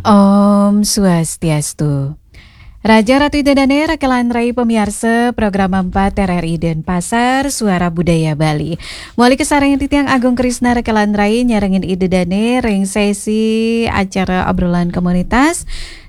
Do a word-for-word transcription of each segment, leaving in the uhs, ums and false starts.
Om Swastiastu. Raja Ratu Ida Dane, rekelan rai pemiarsa program empat R R I Denpasar, Suara Budaya Bali. Mawali kasarengin titiang Agung Krisna rekelan rai nyarengin Ida Dane ring sesi acara obrolan komunitas.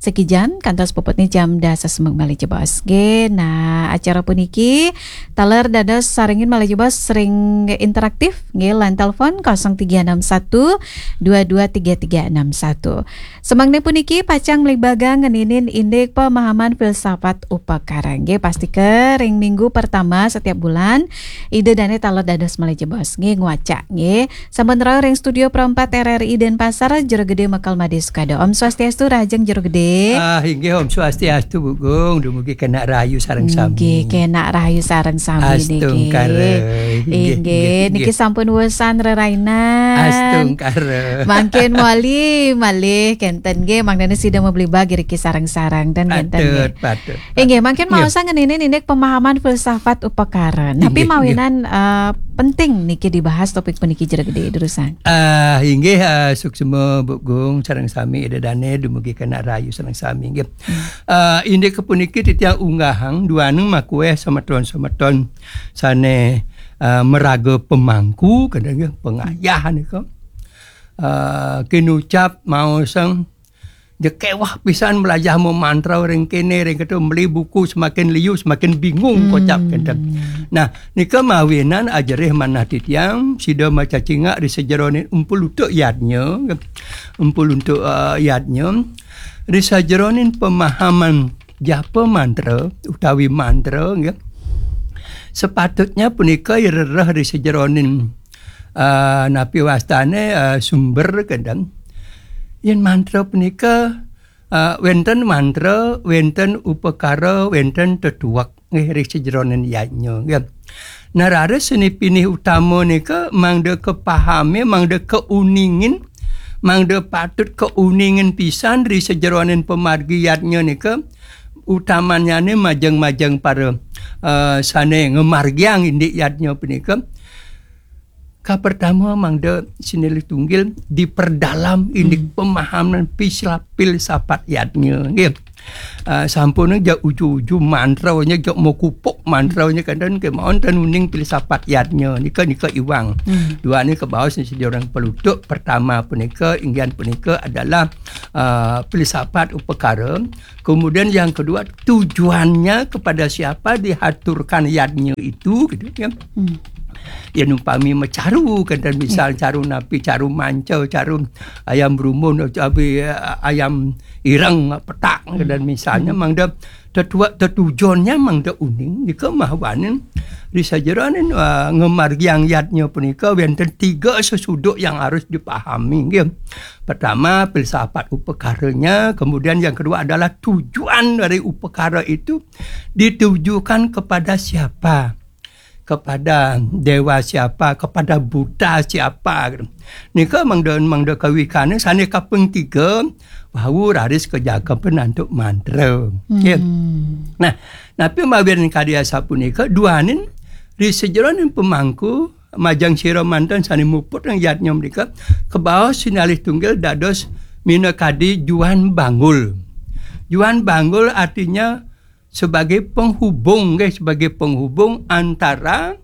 Sekijan, kantos puputne jam dasa semeng malih jebos. Nggih, nah, acara puniki taler dados sarengin malih jebos ring interaktif, nggih, lan telepon kosong tiga enam satu dua dua tiga tiga enam satu. Semengne puniki pacang mlebagang ngeninin indik pemahaman filsafat upakara. Nggih, pastika ring minggu pertama setiap bulan, Ida Dane taler dados malih jebos. Nggih, ngwacak, nggih. Sampun rauh ring studio Pro empat R R I Denpasar, Jero Gede Mekel Made Sukado. Om Swastiastu, rahajeng Jero Gede. Ah, inggih, Om Swastiastu, Bu Gung. Dumugi kenak rahayu sareng sami. Nggih, kenak rahayu sareng sami niki. Astungkara. Inggih, Inggih, inggih, niki inggih. Sampun wesan rerainan. Astungkara. Mangkin mawali malih kenten nggih, mangdane sida mabligbagang iriki sareng-sareng ten kenten nggih. Patut, patut. Inggih, mangkin Iya. maosang ngeninin indik pemahaman filsafat upakara. Tapi Inggih, mawinan, eh, penting niki dibahas topik puniki Jero Gede durusang. Ah, inggih, ah, suksma Bu Gung sareng sami Ida Dane dumugi kenak rahayu sareng sami nggih. Hmm. Ah, indik puniki titiang unggahang duaning makueh semeton-semeton sane, ah, maraga pemangku, kadang nggih, pengayah nika. Ah, kinucap maosang, ja keweh pisan melajah mamantra ring kene, ring keto, meli buku semakin liu, semakin bingung, Hmm. kocap kenten. Nah, nika mawinan ajerih manah titiang, sida macacingak ri sajeroning Empu Lutuk Yadnya, Empu Lutuk, eh, Yadnya, ri sajeroning pemahaman japa mantra utawi mantra, nggih. Sepatutnya punika irereh ri sajeroning, eh, napi wastane, eh, sumber kenten. Yen mantra punika, eh, wenten mantra, wenten upakara, wenten tetuek, nggih, ri sajeroning yadnya, nggih. Nah, raris sane pinih utama nika mangda kapahami, mangda kauningin, mangda patut kauningin pisan ri sajeroning pamargi yadnya nika, utamanyane majeng-majeng para, eh, sane ngamargiang indik yadnya punika. Kapertama mangda sinilih tunggil diperdalam indik Hmm. pemahaman pisla-, filsafat yadnya, nggih. Ah, sampun ja uju-uju mantranya, ja mokupuk mantranya, kenten kemawon ten uning filsafat yadnya. Nika, nika iwang. Hmm. Duane kabaos sida orang pelutuk. Pertama punika, inggihan punika adalah, ah, filsafat upakara. Kemudian yang kedua, tujuannya kepada siapa dihaturkan yadnya itu, gitu ya. Hmm. Yen umpami macaru, kenten misal Ya. caru napi, caru manca, caru ayam brumun, utawi, eh, ayam ireng, petak, Hmm. kenten misalnya, Hmm. mangda tetua-, tetujonnya mangda uning, nika mawinan ri sajeroning, eh, ngamargiang yadnya punika wenten tiga sesuduk yang harus dipahami, nggih. Pertama, filsafat upakaranya, kemudian yang kedua adalah tujuan dari upakara itu ditujukan kepada siapa? Kepada dewa siapa, kepada buddha siapa. Nika mangda, mangda kawikane sane kaping tiga, wau raris kajaga penantuk mantra. Hmm. Ya. Nah, napi mawinan kadi asapunika, duaning ri sajeroning pemangku majeng sira manten sane muput ring yadnya mrika, kabaos sinalih tunggil dados minakadi juan banggul. Juan banggul artinya sebagai penghubung, nggih, sebagai penghubung antara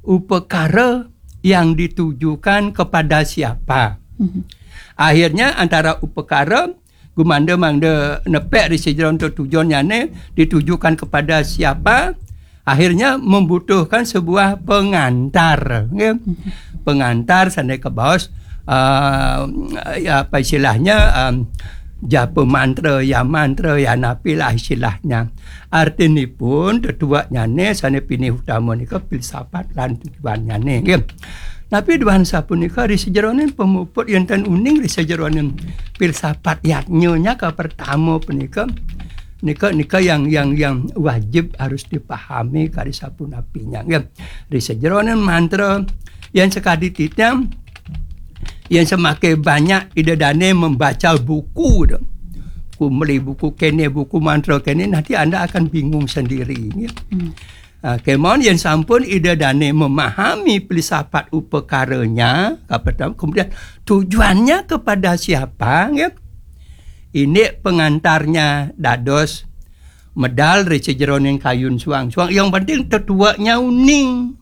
upakara yang ditujukan kepada siapa. Mhm. Akhirnya antara upakara gumanda mangda nepek ri sajeroning tujuannyane ditujukan kepada siapa, akhirnya membutuhkan sebuah pengantar, nggih. Mhm. Pengantar sane kabaos, eh, ya, apa istilahnya, em, japa mantra, ya mantra, ya napi lah istilahnya. Artinipun tetueknyane sane pinih utama nika filsafat lan tujuannyane, nggih. Napi duaning sapunika ri sajeroning pamuput yen ten uning ri sajeroning filsafat yadnyanya kapertama punika, nika, nika yang, yang, yang wajib harus dipahami kari sapunapinya, nggih. Ri sajeroning mantra yen sakadi titiang, yen semakin banyak Ida Dane membaca buku, tu. Ku meli buku kene, buku mantra kene, nanti Anda akan bingung sendiri, nggih. Hmm. Ah, kemawon yen sampun Ida Dane memahami filsafat upakaranya, kapertama, kemudian tujuannya kepada siapa, nggih. Ini pengantarnya dados medal ri sajeroning kayun suang-suang. Yang penting tetueknya uning.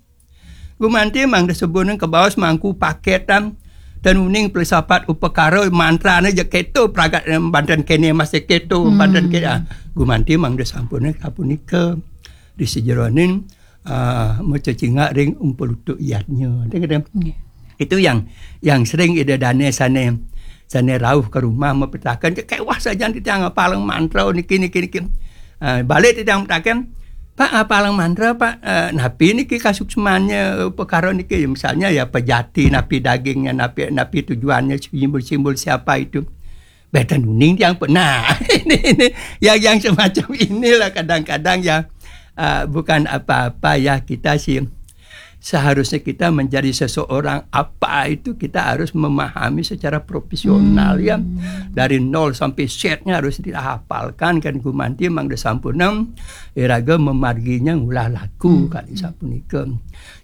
Gumanti mangda sampun kabaos mangku paketan, ten uning filsafat upakara mantrane ja keto pragat, eh, banten kene masih keto, hmm, banten kene. Ah, gumanti mangda sampun sapunika. Ri sajeroning, ah, macecingak ring umpulutuk yadnya. Nggih. Itu yang, yang sering Ida Dane sane, sane rauh ke rumah mapitaken, "Kewah sajan titiang ngapalang mantra niki, niki, niki." Ah, balik titiang mapitaken, "Pak, ngapalang mantra, Pak, eh, napi niki kasuksmannya, eh, perkara niki?" Ya, misalnya ya pejati, napi dagingnya, napi, napi tujuannya, simbol-simbol siapa itu. Beten uning tiang pun. Nah, ini, ini yang, yang semacam inilah kadang-kadang ya, eh, bukan apa-apa ya kita sih. Seharusnya kita menjadi seseorang apa itu kita harus memahami secara profesional ya. Dari nol sampai setnya harus dihafalkan kan gumanti mangda sampunang iraga memarginya ngulah laku kali sapunika.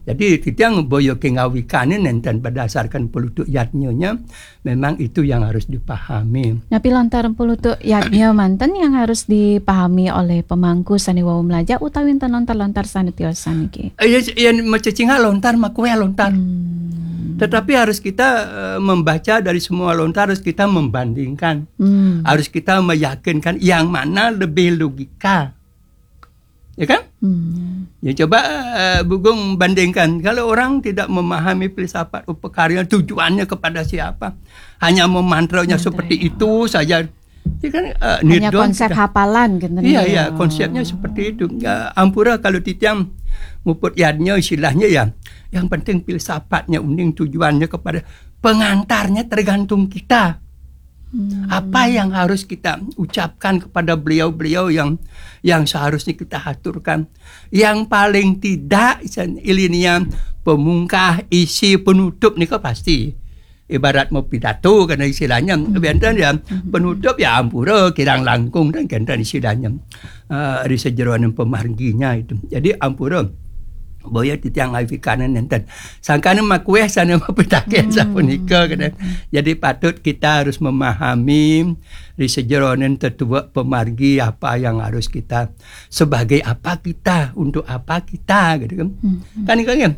Jadi titiang boya kengawikane nenten berdasarkan pelutuk yadnyanya, memang itu yang harus dipahami. Napi lontar pulutuk yadnya manten yang harus dipahami oleh pemangku sane wau mlajah utawi enten lontar-lontar sane tiosan niki? Eh, ya, ya, macecingak lontar, makueh lontar. Hmm. Tetapi harus kita, eh, membaca dari semua lontar, harus kita membandingkan. Hmm. Harus kita meyakinkan yang mana lebih logika. Ya kan? Hmm. Ya, coba, eh, Bugong bandingkan. Kalau orang tidak memahami filsafat upakarya, tujuannya kepada siapa, hanya memantranya seperti itu saja. Ya kan, eh, hanya nidon konsep sudah. Hafalan gitu. Iya, iya, konsepnya seperti itu. Ya, ampura kalau titiang muput yadnya istilahnya ya. Yang penting filsafatnya uning tujuannya kepada pengantarnya tergantung kita. Hmm. Apa yang harus kita ucapkan kepada beliau-beliau yang, yang seharusnya kita haturkan? Yang paling tidak, ilinya pemungkah, isi, penutup nika pasti. Ibarat mau pidato karena istilahnya, hmm, benten ya, hmm, penutup ya ampura, kirang langkung dan kenten istilahnya. Eh, di sejeroning pemarginya itu. Jadi ampura boya titiang awikanen nenten. Sangkane makueh sane mapitaken sapunika, kene. Jadi patut kita harus memahami di sejeroning tetuek pemargi apa yang harus kita, sebagai apa kita, untuk apa kita, gitu kan. Kan itu kan,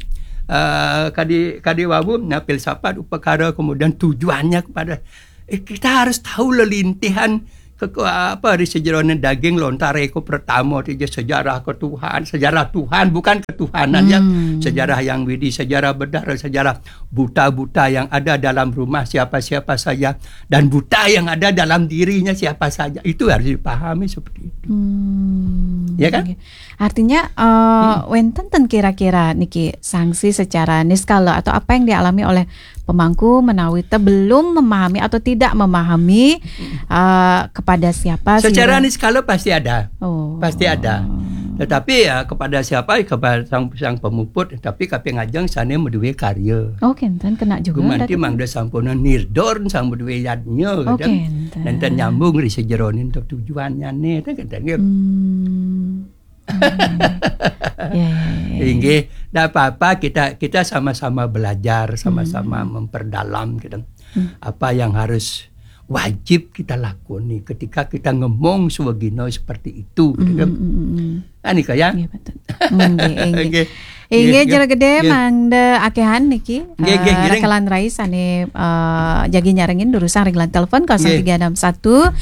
eh, kadi, kadi wau, nah, filsafat upakara, kemudian tujuannya kepada, eh, kita harus tahu lelintihan ke, ke, apa, di sejeroning daging lontar eko pertama, itu sejarah ketuhan, sejarah Tuhan, bukan ketuhanan ya. Hmm. Sejarah yang widi, sejarah bedara, sejarah buta-buta yang ada dalam rumah siapa-siapa saja, dan buta yang ada dalam dirinya siapa saja. Itu harus dipahami seperti itu. Hmm, ya kan? Oke. Artinya, eh, hmm, wenten ten kira-kira niki sanksi secara niskala atau apa yang dialami oleh pemangku menawi te belum memahami atau tidak memahami, eh, kepada siapa secara sehingga niskala pasti ada. Oh. Pasti ada. Tetapi ya kepada siapa? Kepada sang, sang pemuput, tapi kaping ajeng sane maduwe karya. Oh, kenten kena juga. Gumanti mangda sampuna nirdor sang maduwe yadnya, oh, gitu. Kenten. Nenten nyambung ri sejeroning tujuannya nih, kan kenten, gitu. Hmm. Ya, ya, ya, ya. Inggih, ndak apa-apa, kita, kita sama-sama belajar, sama-sama memperdalam gitu. Hmm. Apa yang harus wajib kita lakoni ketika kita ngemong swagina seperti itu gitu kan. Hmm, hmm, hmm, hmm. Anika ya. Nggih, betul. Nggih, nggih. Nggih. Inggih, nggih, Jero Gede, nggih, mangda akehan niki, nggih, nggih, eh, ngiring. Rekalan rai sane, eh, jagi nyarengin durusang ring line telepon nggih. Kosong tiga enam satu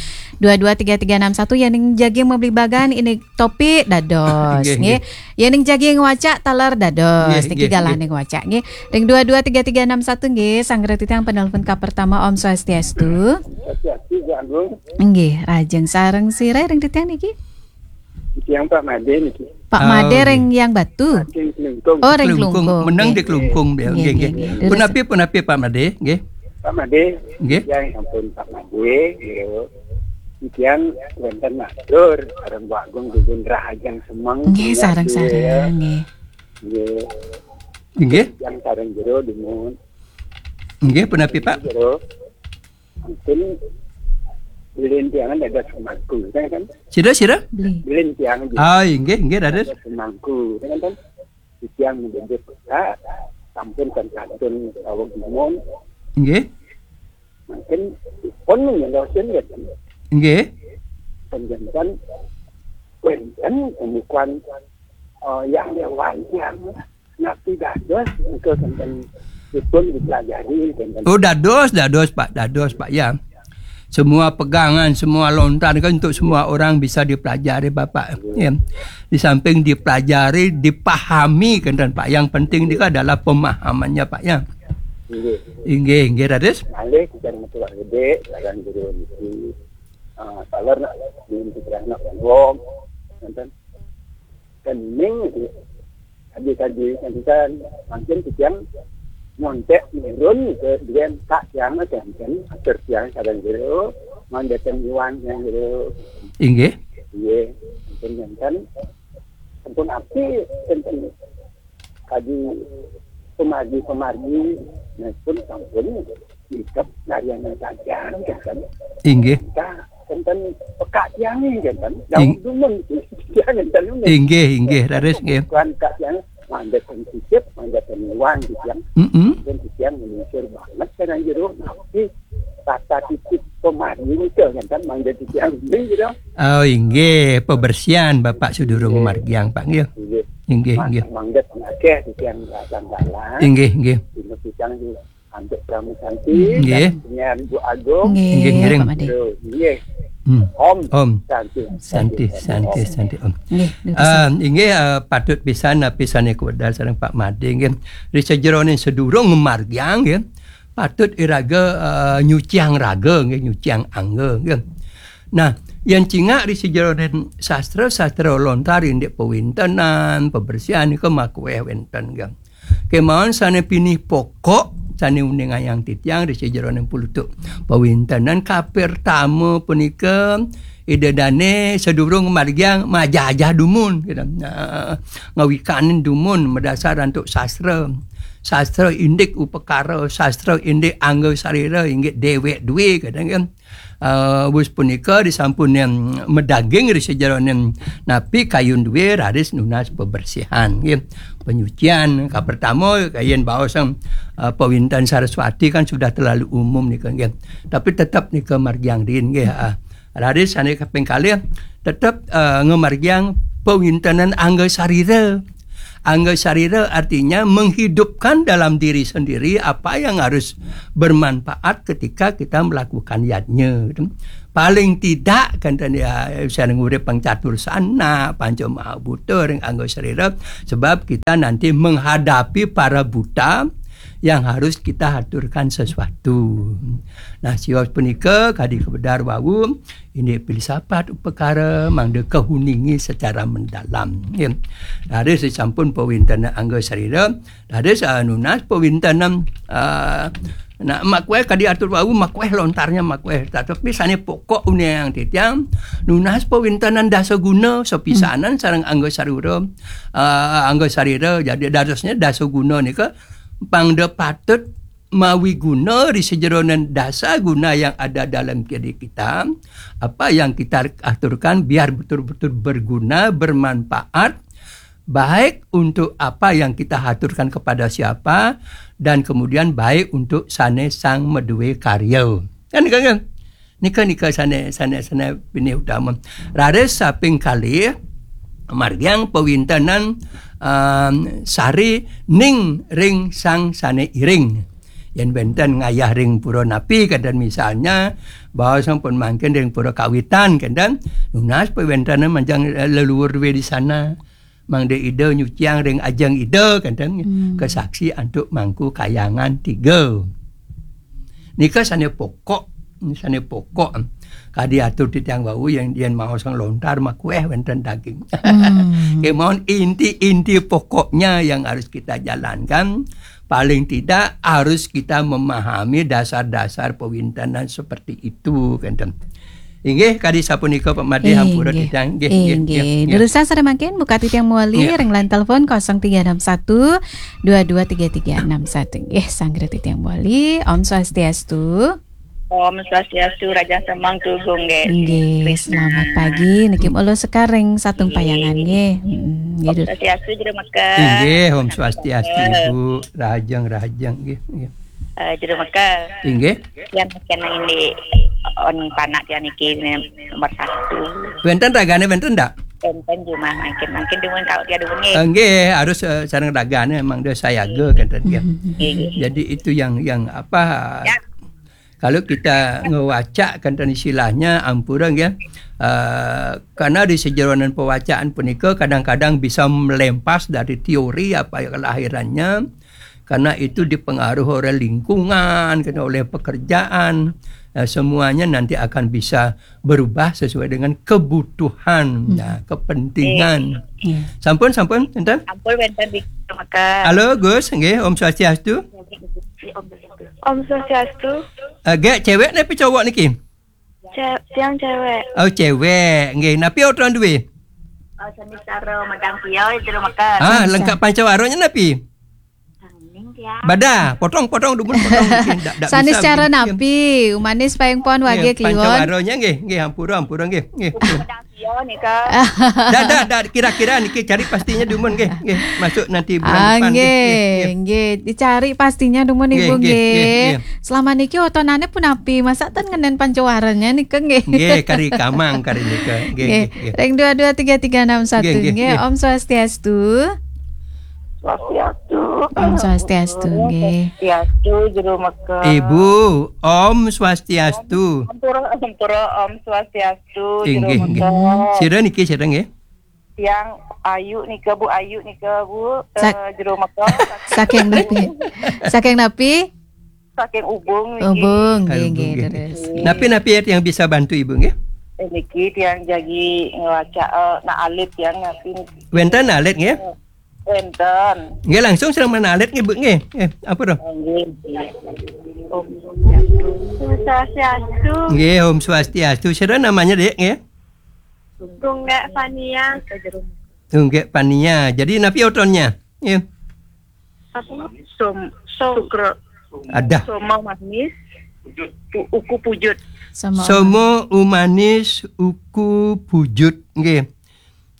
dua dua tiga tiga enam satu, yening jagi mabligbagan indik topik dados, nggih, nggih, nggih. Yening jagi ngwacak taler dados, nggih, niki nggih, galah nggih. Ning ngwacak, nggih. Ring dua dua tiga tiga enam satu, nggih, sanggra titiang penelpon ka pertama, Om Swastiastu. Swastiastu, Bu Agung. Nggih, rajeng sareng sira ring titiang niki? Titiang Pak Made niki. Pak Made, oh, ring nggih. Yang Batu? Saking Klungkung. Oh, ring Klungkung. Klungkung. Meneng nggih. Di Klungkung, nggih, nggih, nggih, nggih. Nggih. Punapi, punapi Pak Made, nggih. Pak Made, nggih. Titiang ampun Pak Made, nggih. Titiang wenten matur, sareng Bu Agung dumun rahajeng semeng, nggih, sareng-sareng, ya. Nggih. Nggih. Nggih. Titiang sareng jero dumun. Nggih, punapi, Pak? Jero. Mungkin bilin tiangan ada semangku, kan, kan? Sira, sira? Beli. Bilin tiang aja. Ah, inggih, inggih, dados. Ada semangku, kan, kan? Tiang menjemput kota, sampun kan kadun awak dumun. Nggih. Mungkin pun nyendosin ya, kan? Nggih. Panjenengan wénten pembukuan, eh, yang lewat yang napi dados engko sampun dipun dipelajari, sampun. Oh, dados, dados, Pak, dados, Pak, ya. Semua pegangan, semua lontar kan untuk semua orang bisa dipelajari, Bapak. Ya. Di samping dipelajari, dipahami kan, Pak. Yang penting itu adalah pemahamannya, Pak, ya. Nggih. Inggih, inggih, ratus. Malih kita metu gedé, sareng jero niki. Ah, taler nak di pikiran nak wong, nonton. Kening itu. Tadi-tadi kan mungkin titiang nyontek nurun ke dia tak yang kan, atur tiang sareng jero, mandeten iwan yang jero. Inggih. Iya, mungkin kan. Sampun api, sampun kadi pemargi-pemargi, nah, pun sampun ikep narian saja, kan. Inggih. Kita, sampun pekak tiang, kan. Daun Ing- dumun, tiang, kan. Inggih, inggih, raris, nggih. Bukan pekak tiang, mandeten sisip, mandeten uang, gitu, yang. Mm-mm. Dan tiang menyisir banget, kan, jero. Nah, tapi tata titip pemargi, kan, mandeten tiang, gitu. Oh, inggih, pembersihan Bapak sedurung margiang, Pak, nggih. Inggih. Inggih, inggih. Mangget akeh titiang dalang-dalang. Inggih, inggih. Dina pisang di antuk Pramu Santi, nggih. Dan penyiar Bu Agung. Nggih, nggih, ngiring. Pak Made. Terus, nggih. Hmm. Om. Om. Santi. Santi, Santi, Santi, Om. Santi, Om. Nggih, terus. Ah, inggih, ah, patut pisan, ah, pisan kewedar sareng Pak Made, nggih. Ri sajeroning sedurung margiang, nggih. Patut iraga, ah, nyuciang raga, nggih, nyuciang angga, nggih. Nah, yen cingak ri sajeroning sastra-sastra lontar indik pawintenan, pembersihan nika makueh wenten, nggih. Kemawon sane pinih pokok, sane uningayang titiang ri sajeroning pulutuk pawintenan kapertama punika Ida Dane sedurung margiang majajah dumun, gitu. Nah, ngawikanin dumun madasar antuk sastra. Sastra indik upakara, sastra indik angga sarira, inggih dewek duwe, kadang kan. Eh, wus punika disampun yang medaging ri sajeroning napi kayun duwe raris nunas pembersihan, nggih. Penyucian, kapertama, kayen baos, eh, pawinten Saraswati kan sudah terlalu umum nika, nggih. Tapi tetap nika margiang rin, nggih, ah. Raris sane kaping kalih, tetep, eh, ngamargiang pawintenan angga sarira. Angga sarira artinya menghidupkan dalam diri sendiri apa yang harus bermanfaat ketika kita melakukan yadnya, gitu. Paling tidak, kan, ya, saya ngurip pang catur sana, panca maha buta, ring angga sarira, sebab kita nanti menghadapi para buta yang harus kita haturkan sesuatu. Nah, sios punika kadi kebedar wau, indik filsafat upakara mangda kahuningi secara mendalam. Ya. Raris sampun pawintenan angga sarira, raris, ah, nunas pawintenan, ah, nah, makueh kadi atur wau, makueh lontarnya makueh. Tetapi sane pokok uningayang titiang, nunas pawintenan dasa guna, sapisanan sareng angga sarira, ah, angga sarira, jadi dadosnya dasa guna nika pangda patut mawi guna di sajeroning dasa guna yang ada dalam diri kita, apa yang kita aturkan biar betul-betul berguna, bermanfaat, baik untuk apa yang kita haturkan kepada siapa, dan kemudian baik untuk sane sang madue karya. Kan, kan, kan? Nika, nika sane, sane, sane pinih utama. Raris saping kalih, margiang pawintenan, um, sari ning ring sang sane iring. Yen wenten ngayah ring pura napi, kaden misalnya, bahwa sampun mangkin ring pura kawitan, kaden nunas pawintenan manjang, eh, leluhur duwe di sana. Mangda Ida nyuciang ring ajeng Ida, kaden, hmm, kesaksi antuk mangku kayangan tiga. Nika sane pokok, sane pokok. Kadi atur titiang wau yang yen maos sang lontar makueh wenten daging. Hmm. Kemawon inti-inti pokoknya yang harus kita jalankan. Paling tidak harus kita memahami dasar-dasar pawintenan seperti itu, kaden. Inggih, kadi sapunika Pak Made, hampura titiang. Inggih, inggih, inggih. Durusang sareng mangkin, buka titiang mawali ring line telepon kosong tiga enam satu dua dua tiga tiga enam satu. Inggih, sanggra titiang mawali. Om Swastiastu. Om Swastiastu, Raja Semang Tugung, nggih. Inggih, selamat pagi. Niki mula sekar ring Satung Payangan, nggih. Mm, nggih, Om Swastiastu, Jero Mekar. Inggih, Om Swastiastu, Ibu. Rahajeng, rahajeng, nggih, nggih. Eh, Jero Mekar. Inggih. Yang kena ini. on panak dia niki nomor satu. Wénten ragane wénten ndak? Wénten jumah mangkin, mangkin dumun kalau dia dumun nggih. Eh, nggih, harus, eh, sareng ragane memang dia sayaga kenten dia. Nggih, nggih. Jadi itu yang yang apa? Ya. Kalau kita ngewacak kenten istilahnya ampura nggih. Eh, karena di sejeroning pawacaan punika kadang-kadang bisa melempas dari teori apa yang kelahirannya, karena itu dipengaruhi oleh lingkungan, kena oleh pekerjaan. Eh, semuanya nanti akan bisa berubah sesuai dengan kebutuhan, nah, kepentingan. Sampun, sampun, enten? Sampun wénten di Kecamatan. Halo, Gus, nggih, Om Swastiastu. Om Swastiastu. Eh, gek cewek napi cowok niki? Ce-, tiang cewek. Oh, cewek, nggih. Napi otron duwe? Oh, sami cara madang pia jero meken. Ah, lengkap pancawaranya napi? Badah, potong-potong dumun potong. Nggih, ndak, ndak bisa cara nggih. Napi, umanis paing pon wage kliwon. Pancawaranya nggih, nggih, ampura, ampura nggih, nggih. Madang pia nika. Dak, dak, dak, kira-kira niki cari pastinya dumun nggih, nggih. Masuk nanti bulan depan nggih, nggih, nggih. Nggih, dicari pastinya dumun nggih, Ibu nggih, nggih, nggih. Selama niki otonane punapi, masa ten ngenen pancawaranya nika nggih. Nggih, kari kamang kari nika. Nggih, nggih, nggih. Ring dua dua tiga tiga enam satu nggih, nggih, nggih, nggih. Om Swastiastu. Swastiastu. Om Swastiastu, nggih. Swastiastu, jero meken. Ibu, Om Swastiastu. Ampura, ampura, Om Swastiastu, jero meken. Nggih, nggih. Sira niki, sira nggih? Tiang Ayu nika, Bu, Ayu nika, Bu, eh, jero meken. Saking napi? Saking napi? Saking Ubung niki. Ubung, nggih, nggih, terus. Napi-napi yang bisa bantu Ibu nggih? Eh, niki tiang jagi ngewacak, eh, nak alit tiang napi. Wénten alit nggih? Wénten. Nggih, langsung sareng nak alit nggih, Bu nggih. Nggih, ampura. Nggih. Om Swastiastu. Nggih, Om Swastiastu. Sira namanya, Dik, nggih? Tunggek Fania. Tunggek Fania. Jadi napi otronnya? Nggih. Apa? Som-, som-, sukro. Ada. Somo manis, pu-, uku pujut. Somo umanis, uku pujut. Nggih.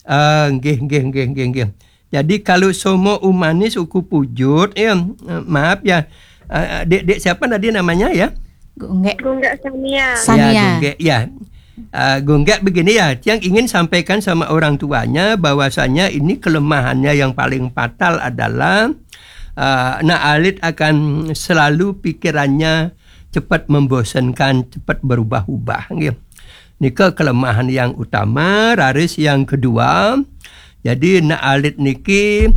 Ah, nggih, nggih, nggih, nggih, nggih. Jadi kalau somo umanis, uku pujut, ya, eh, maaf ya. Eh, Dek, Dek siapa tadi namanya ya? Gunggek. Gunggek Sania. Ya, Sania. Gunggek, ya. Ah, Gunggek begini ya, tiang ingin sampaikan sama orang tuanya bahwasanya ini kelemahannya yang paling fatal adalah, ah, nak alit akan selalu pikirannya cepat membosankan, cepat berubah-ubah, nggih. Nika kelemahan yang utama, raris yang kedua. Jadi nak alit niki